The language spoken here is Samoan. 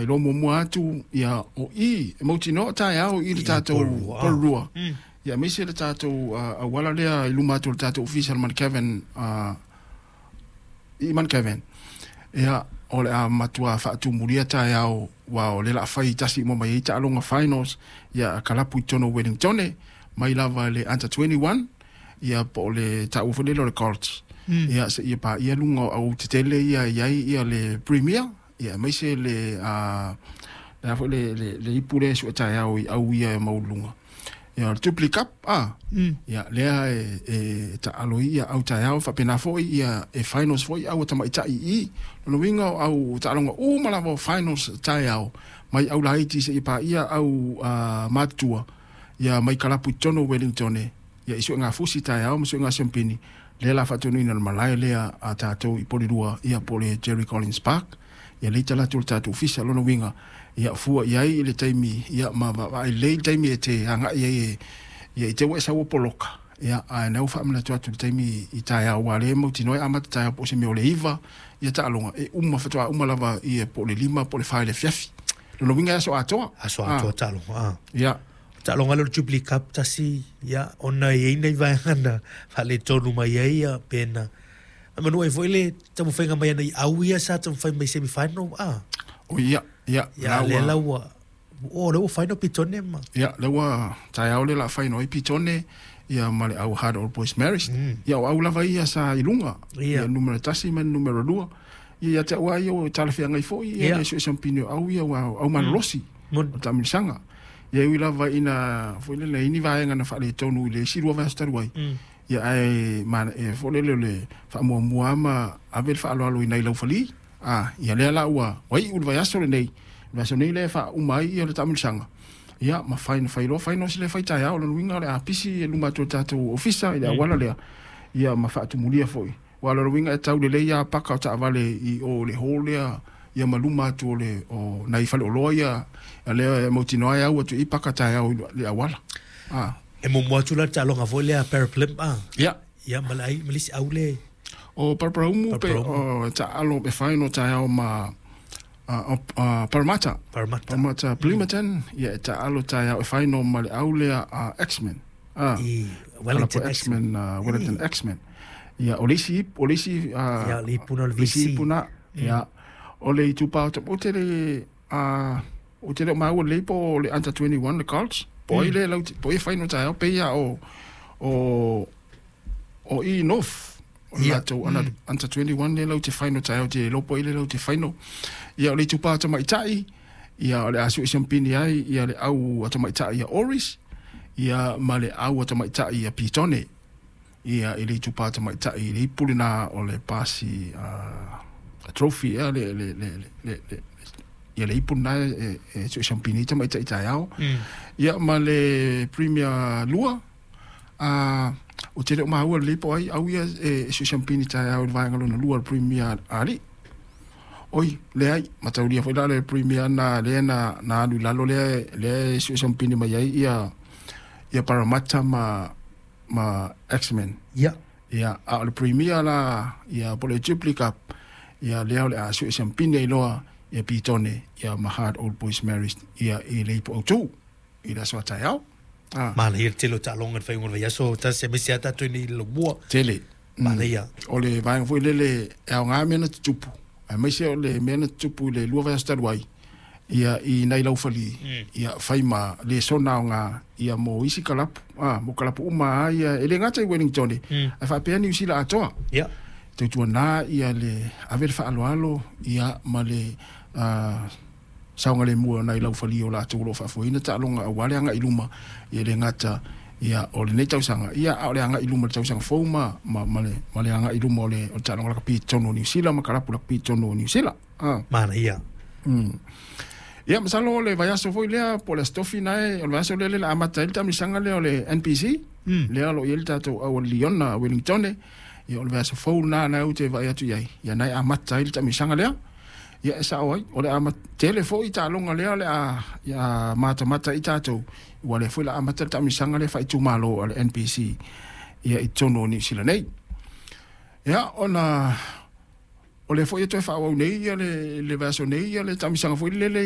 Iloa muamua atu ia o i e mautinoa o taeao i le tatou Porirua. Ia aemaise le tatou auala lea i luma atu o le tatou ofisa o le Mount Kevin, i Mount Kevin. Ia o le a matua faatumulia taeao aua o lea o le a fai tasi uma mai ai taaloga finals ia a kalapu i totonu o Wellingtone mai lava i le under 21 ia po o le taua foi lele o le Colts. Ia seia paia luga o autetele ia e i ai ia le Premier ia aemaise le le a foi le ipu lea e sue taeao i au ia e maualuluga. Ia o le Jubilee Cup a ia lea e taalo ai ia au taeao faapena foi ia e finals foi au a tamaitai i i. Lona uiga o au taaloga uma lava o finals taeao mai au laiti seia paia au matutua ia mai kalapu i totonu o Wellingtone ia i suegafusi taeao ma suega siampini lea o le a faatonuina i le malae lea a tatou i Porirua ia po o le Jerry Collins Park. Ia lea e tala atu i le tatou ofisa. Lona uiga, ia fua i ai i le taimi, ia ma vaavaai lelei i le taimi e te agai ai e, ia i te i ua e sau ua poloka, ia ae na ua faamanatu atu i le taimi i taeao, aua o lea e mautinoa e amata taeao po o se mea o le 9 ia taaloga, e uma faatoa uma lava ia po o le 5 po o le 4 i le afiafi. Lona uiga e aso atoa. Aso atoa taaloga, a. Ia. Taaloga lea o le Jubilee Cup tasi, ia, ona e i ai nai vaega na faaletonu mai ai, ia, pe na Manu ai foi le taumafaiga mai ana i au ia sa taumafai mai semi final a. O ia, ia, ia lea la ua o lea ua final Pitone ma. Ia, lea ua taeao lea la final ai Pitone ia ma le au Hard Old Boys Marist. Ia o au lava ia sa i luga. Ia numera 1 ma le numera 2. Ia ia te au lava ia ua talafeagai foi ia le suesuempini o au ia aua o au malolosi. O le taamilosaga. Ia e ui lava ina foi lele i ni vaega na faaletonu i le isi 2 vaiaso talu ai. Ia ae e foi lele o le faamuamua lava ma ave le faaaloalo i nai laufali. A, ia lea la ua iu le vaiaso lenei, le vaiaso nei lea e faauma ai ia le taamilosaga. Ia ma fai na fai loa finals lea e fai taeao, o lona uiga o le a pisi i luma atu o le tatou ofisa i le auala lea, ia ma faatumulia foi. Aua o lona uiga e tau lelei lava paka o taavale i o i le hall lea ia ma luma atu o le o nai faleoloa ia, lea e mautinoa e au atu i i paka taeao i le auala. A. E muamua atu la le taaloga foi lea Paraplym a. Ia. Ia ma le ai ma le isi au le. O Paraparaumu pe o taalo e fai no taeao ma Parramatta. Parramatta. Parramatta Plimmerton ia e taalo taeao e fai no ma le au lea a X-Men. A. I Wellington X-Men, Wellington X-Men. Ia o le isi o le isi ia le ipu na o le VC. Ipu na. Ia o le itupa o te le a Ou te le o maua lelei po o le under 21 le Colts, po o ai lea lau, po o ai e fai no taeao, pei lava o, o, o i North, o le latou under 21 lea lau te fai no taeao, te iloa po o ai lea lau te fai no. Ia, o le itupa tamaitai, ia, o le a sue siampini ai, ia, le au a tamaitai ia Oris, ia, ma le au a tamaitai ia Pitone. Ia, i le itupa tamaitai i le ipu lena o le pasi a trophy ea le, le, le, le, le, ia le ipu lena e suesiampini ai tamaitai taeao. Ia ma le Premier 2, a, ou te le o maua lelei po o ai au ia e suesiampini taeao i le vaega lona lua o le Premier alii. Oi, leai, mataulia foi la le Premier na lea na, na alu i lalo lea, lea e suesiampini mai ai ia, ia Parramatta ma ma X-Men. Ia. Ia, a o le Premier la, ia, po o le Jubilee Cup, ia, lea o le a sue siampini ai loa ia Pitone, ia ma Hard Old Boys Marist, ia, i le ipu autū, i le aso a taeao. A. Manaia le tele o taaloga i le faaiuga o le vaiaso, tasi aemaise lava tatou i nei i le Laumua. Tele. Manaia. O le vaega foi lele e aoga mea na tutupu, aemaise o le mea na tutupu i le 2 vaiaso talu ai, ia i nai laufali ia fai ma lesona aoga ia mo isi kalapu a mo kalapu uma a ia e le gata i Wellington ae faapea Niu Sila atoa. Ia. Tautuana ia le ave le faaaloalo ia ma le saogalemu o nai laufali o latou o lo o faafoeina taaloga aua le agai i luma ia e le gata ia o lenei tausaga ia a o le agai i luma i le tausaga fou ma ma ma le ma le agai i luma o le o le taaloga lakapi i totonu o Niu Sila ma kalapu lakapi i totonu o Niu Sila. Manaia. Ia, masalo o le vaiaso foi lea, po o le Aso Tofi na e, o le vaiaso lea lea o le a amata ai le taamilosaga lea o le NPC, lea o lo o i ai le tatou au a le Liona a Wellingtone. Ia, o le vaiaso fou lena na ou te vaai atu i ai, ia na e amata ai le taamilosaga lea. Ia, e sao ai, o le a tele foi taaloga lea o le a ia matamata ai tatou, ua lea foi o le a amata le taamilosaga lea faaitumalo a le NPC ia i totonu o Niu Sila nei. Ia, ona O lea foi e toe faaauau nei le vaiaso nei le taamilosaga foi lele.